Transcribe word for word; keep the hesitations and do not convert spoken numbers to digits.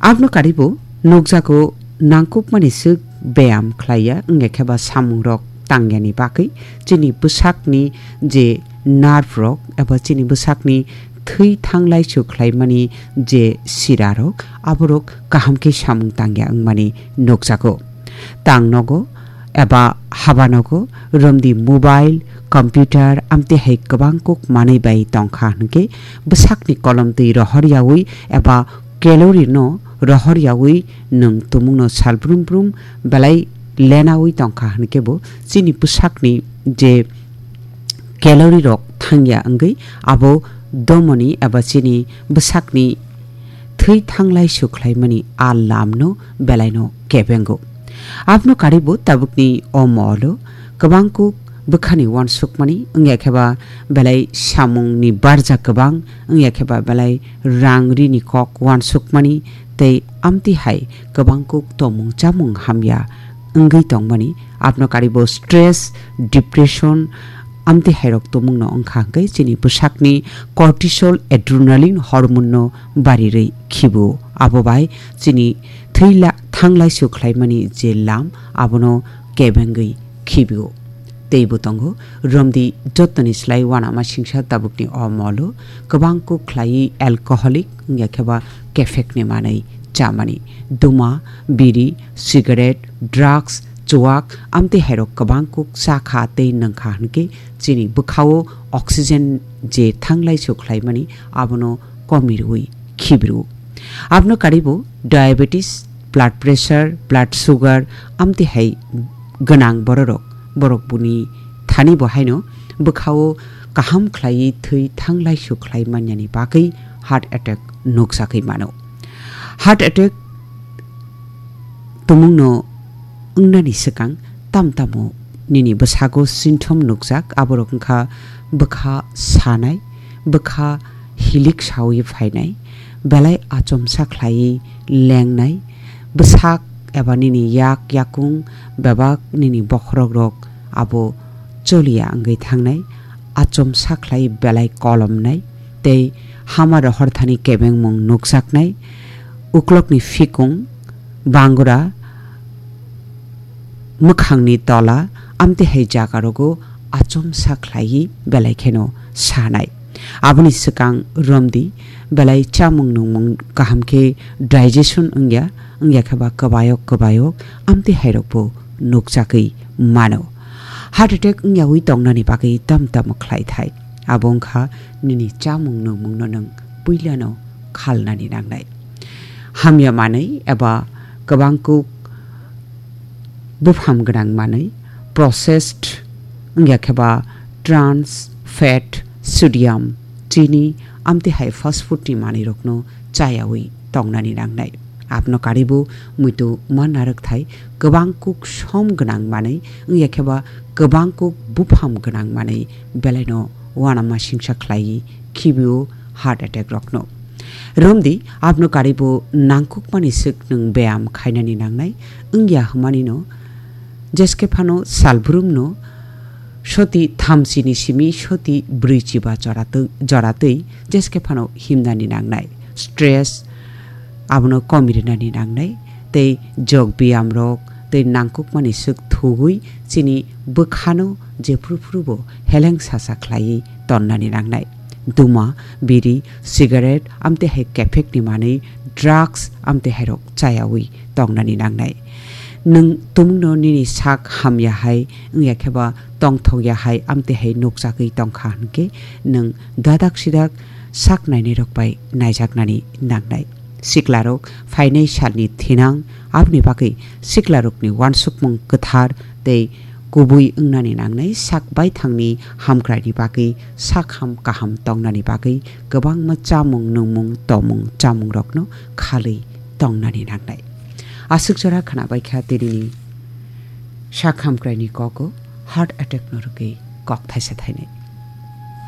Abno karibo nukjago nangkukmani swk beyam khlaiya, wngya khe ba samungrok tangyani bagwi chini bwsakni je nerve rok eba chini bwsakni thwi thanglai su khlaimani je sirarok, aborok kaham khe samung tangya wngmani nukjago. Tang nogo eba haba nogo romdi mobile, computer, amtwi hai kwbang kuk manwi bai tongkha hwnkhe bwsakni kolomtwi rohor yaui eba calorie no rohor yaui nwng tumungno sal brum brum belai lenaui tongkha hwnkhe bo chini bwsakni je calorie rok thangya wngwi abo domoni eba chini bwsakni thwi thanglai su khlaimani a lamno belaino kebengo. Abno karibo tabukni o molo kwbang kuk bwkhani uansukmani, wngya khe ba belai samungni barja kwbang, wngya khe ba belai rang rini kok uansukmani, tei amtwi hai kwbang kuk tomung chamung hamya wngwi tongmani. Abno karibo stress, depression, amtwi hairok tumungno wngkha hwnkhe chini bwsakni cortisol, adrenaline hormone no barirwi khibo. Abo bai chini thwi la-, thanglai su khlaimani je lam abono kebengwi khibio. Teibo tongo, romdi jottoni slai uanama singsa tabukni o molo kwbang kuk khlaiwi alcoholic wngya khe ba kephekni manwi chamani. Duma, biri, cigarette, drugs, chuwak, amtwi hairok kwbang kuk cha kha tei nwng kha hwnkhe chini bwkhao oxygen je thanglai su khlaimani abono komirwi khibru. Abno karibo diabetes, blood pressure, blood sugar, amtwi hai gwnang bororok, borok buni thani bo haino bwkhao kaham khlaiwi thwi thanglai su khlai manyani bagwi heart attack nukjagwi mano. Heart attack tumungno wngnani swkang tam tamo nini bwsago symptom nukjak, aborok wngkha bwkha sanai, bwkha hilik sawi phainai, belai achomsa khlaiwi lengnai, bwsak eba nini yak yakung bebak nini bokhorok rok abo choliya wngwi thangnai, achomsa khlai belai kolomnai, tei hama rohor thani kebengmung nukjaknai, uklokni phikung, bangura, mwkhangni tola, amtwi hai jagarogo achomsa khlaiwi belai kheno sanai. Aboni swkang romdi, belai chamung nungmung kaham khe digestion wngya, wngya khe ba kwbayok kwbayok amtwi hairokbo nukjagwi mano. Heart attack wngyawi tongnani bagwi tam tamo khlai thai. Abo wngkha nini chamung nungmungno nwng puilano khalnani nangnai. Hamya manwi eba kwbang kuk bupham gwnang manwi, processed wngya khe ba trans fat, sodium, chini, amtwi hai fast food ni manwi rokno chayawi tongnani nangnai. Abno karibo muitu ma narwk thai kwbang kuk som gwnang manwi, wngya khe ba kwbang kuk bupham gwnang manwi belaino uanama singsa khlaiwi khibio heart attack rokno. Romdi, abno karibo nangkukmani swk nwng beyam khainani nangnai, wngya hwmanino, jeske phano salbrumno soti thamchini simi soti brwi chiba joratwi, joratwi jeske phano himnani nangnai. Stress abono komirinani nangnai, tei jog biyamrok tei nangkukmani swk thugwi chini bwkhano jephru phrubo heleng sasa khlaiwi tonnani nangnai. Duma, biri, cigarette, amtwi hai kephekni manwi, drugs, amtwi hairok chayawi tongnani nangnai. Nwng tumungno nini sak hamya hai, wngya khe ba tongthok ya hai, amtwi hai nukjagwi tongkha hwnkhe, nwng dadak sidak sak nainairok bai naijaknani nangnai. Siklarok phainai salni thinang, aboni bagwi siklarokni uansukmung kwthar tei kubui wngnani nangnai, sak baithangni hamkraini bagwi sak ham kaham tongnani bagwi kwbangma chamung nungmung tomung chamungrokno khalwi tongnani nangnai. Aswk jora khwnabaikha tinini sak hamkraini kogo heart attack no rwgwi kok thaisa thainai.